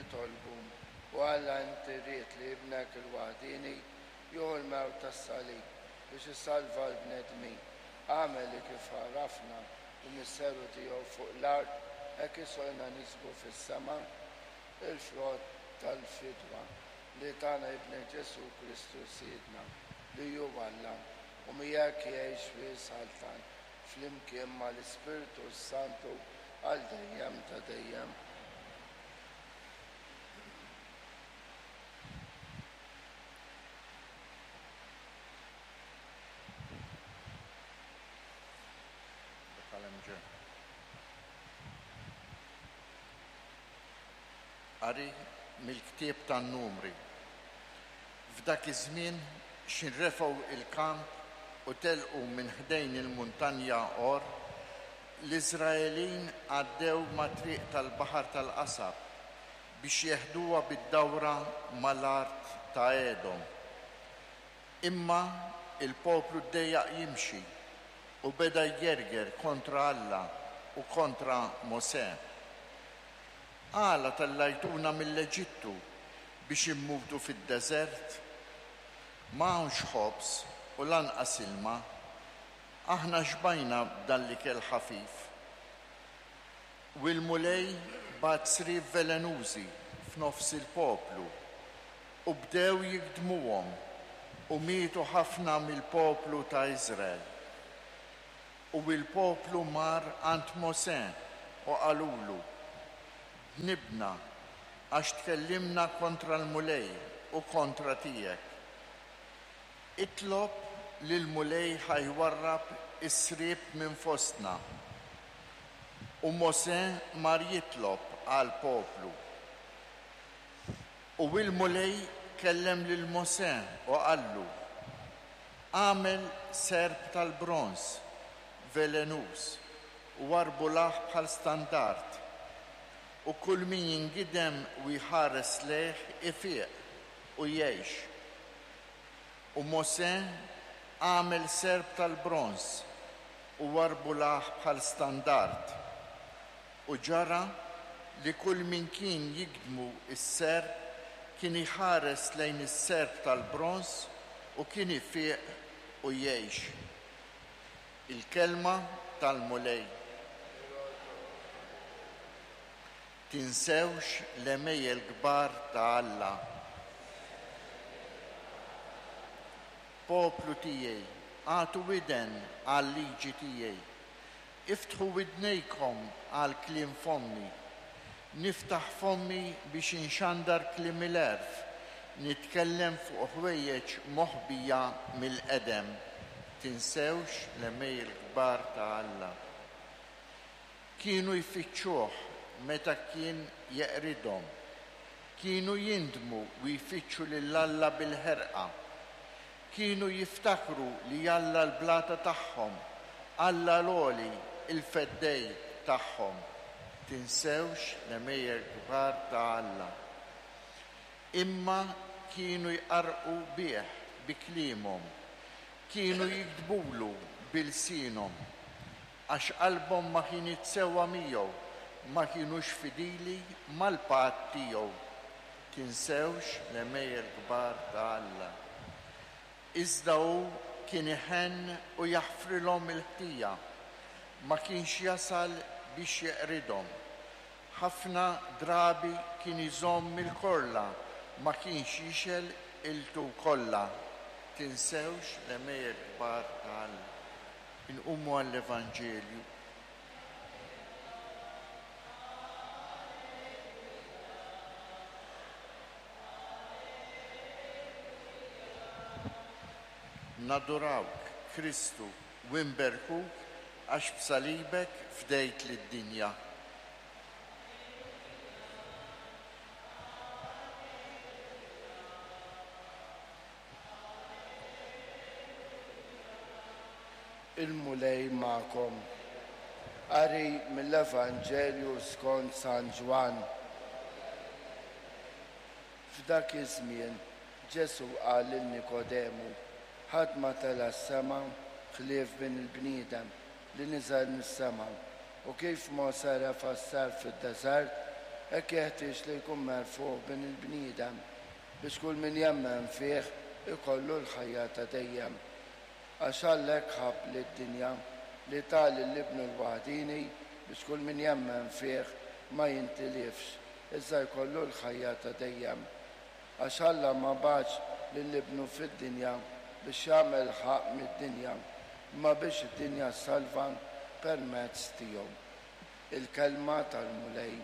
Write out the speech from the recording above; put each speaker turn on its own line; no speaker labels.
Nitolbu, O Alla inti ridt li Ibnek il-waħdieni jieħu l-mewt tas-salib biex isalva l-bnedmin. Agħmel li kif għarafna l-misteru tiegħu fuq l-art hekk isolna niksbu fis-sema l-frott tal-fidwa li tana Ibnek Ġesù Kristu Sidna, li hu Alla, u miegħek jgħix u jsaltan flimkien mal-Ispirtu s-Santu għal dejjem ta' dejjem.
Qari mill-ktieb tan-Numri. F'dak iż-żmien x'ħin refgħu l-kamp u telqu minn ħdejn il-muntanja Għor, l-Iżraelin għaddew mat-triq tal-Baħar tal-Qasab biex jeħduha bid-dawra ma' l-art ta' Edom. Imma l-poplu ddejjaq jimxi u beda jgerger kontra Alla u kontra Mosè. Għala tellajtuna mill-Eġittu biex immutu fid-deżert? Ma hawnx ħobż u lanqas ilma. Aħna xbajna b'dan l-ikel ħafif. U l-Mulej bagħat sriep velenużi f'nofs il-poplu, u bdew jigdmuhom, u mietu ħafna mill-poplu ta' Iżrael. U l-poplu mar għand Mosè u qalulu, Dnibna, għax tkellimna kontra l-Mulej u kontra tiegħek. Itlob lill-Mulej ħa jwarrab is-sriep minn fostna. U Mosè mar jitlob għall-poplu. U l-Mulej kellem lil Mosè u qallu, Agħmel serp tal-bronż velenuż u warbulah bħal standard, u kull min jingidem u jħares lejh ifiq u jgħix. U Mosè għamel serp tal-bronż u warbulah bħal standard. U ġara li kull min kien jigdmu s-serp kien iħares lejn is-serp tal-bronż u kien ifiq u jgħix. Il-Kelma tal-Mulej. Tinsewx l-għemejjel kbar ta' Alla. Poplu tiegħi, agħtu widen għal-liġi tiegħi. Iftħu widnejkom għal kliem fommi. Niftaħ fommi biex inxandar kliem il-għerf, nitkellem fuq ħwejjeġ moħbija mill-qedem. Tinsewx l-għemejjel kbar ta' Alla. Kienu jfittxuh meta kien jeqridhom. Kienu jindmu u jfittxu lil Alla bil-ħerqa. Kienu jiftakru li Alla l-blata tagħhom, Alla l-Għoli, il-Feddej tagħhom. Tinsewx l-għemejjel kbar ta' Alla. Imma kienu jqarrqu bih bi kliemhom, kienu jigdbulu bi lsienhom. Għax qalbhom ma kinitx sewwa miegħu, ma kinux fidili mal-patt tiegħu. Tinsewx l-għemejjel kbar ta' Alla. Iżda hu kien iħenn u jaħfrilhom il-ħtija, ma kienx jasal biex jeqridhom. Ħafna drabi kien iżomm il-korla, ma kienx jixgħel qiltu kollha. Tinsewx l-għemejjel kbar ta' Alla. Inqumu għall-Evanġelju. Nadurawk, Kristu, u nberkuk għax b'salibek fdejt lid-dinja.
Il-Mulej magħkom. Qari mill-Evanġelju skont San Ġwann. F'dak iż-żmien, Ġesù qal lil Nikodemu, Ħadd ma tela' s-sema ħlief Bin il-bniedem li niżel mis-sema. U kif Mosè refa' s-serp fid-deżert, Hekk jeħtieġ li jkun merfugħ Bin il-bniedem, biex kull min jemmen fih ikollu l-ħajja ta' dejjem. Għax Alla hekk ħabb lid-dinja, li ta lil Ibnu l-waħdieni biex kull min jemmen fih ma jintilifx, iżda jkollu l-ħajja ta' dejjem. Għax Alla ma bagħatx lil Ibnu fid-dinja biex jagħmel ħaqq mid-dinja, imma biex id-dinja ssalva permezz tiegħu. Il-Kelma tal-Mulej.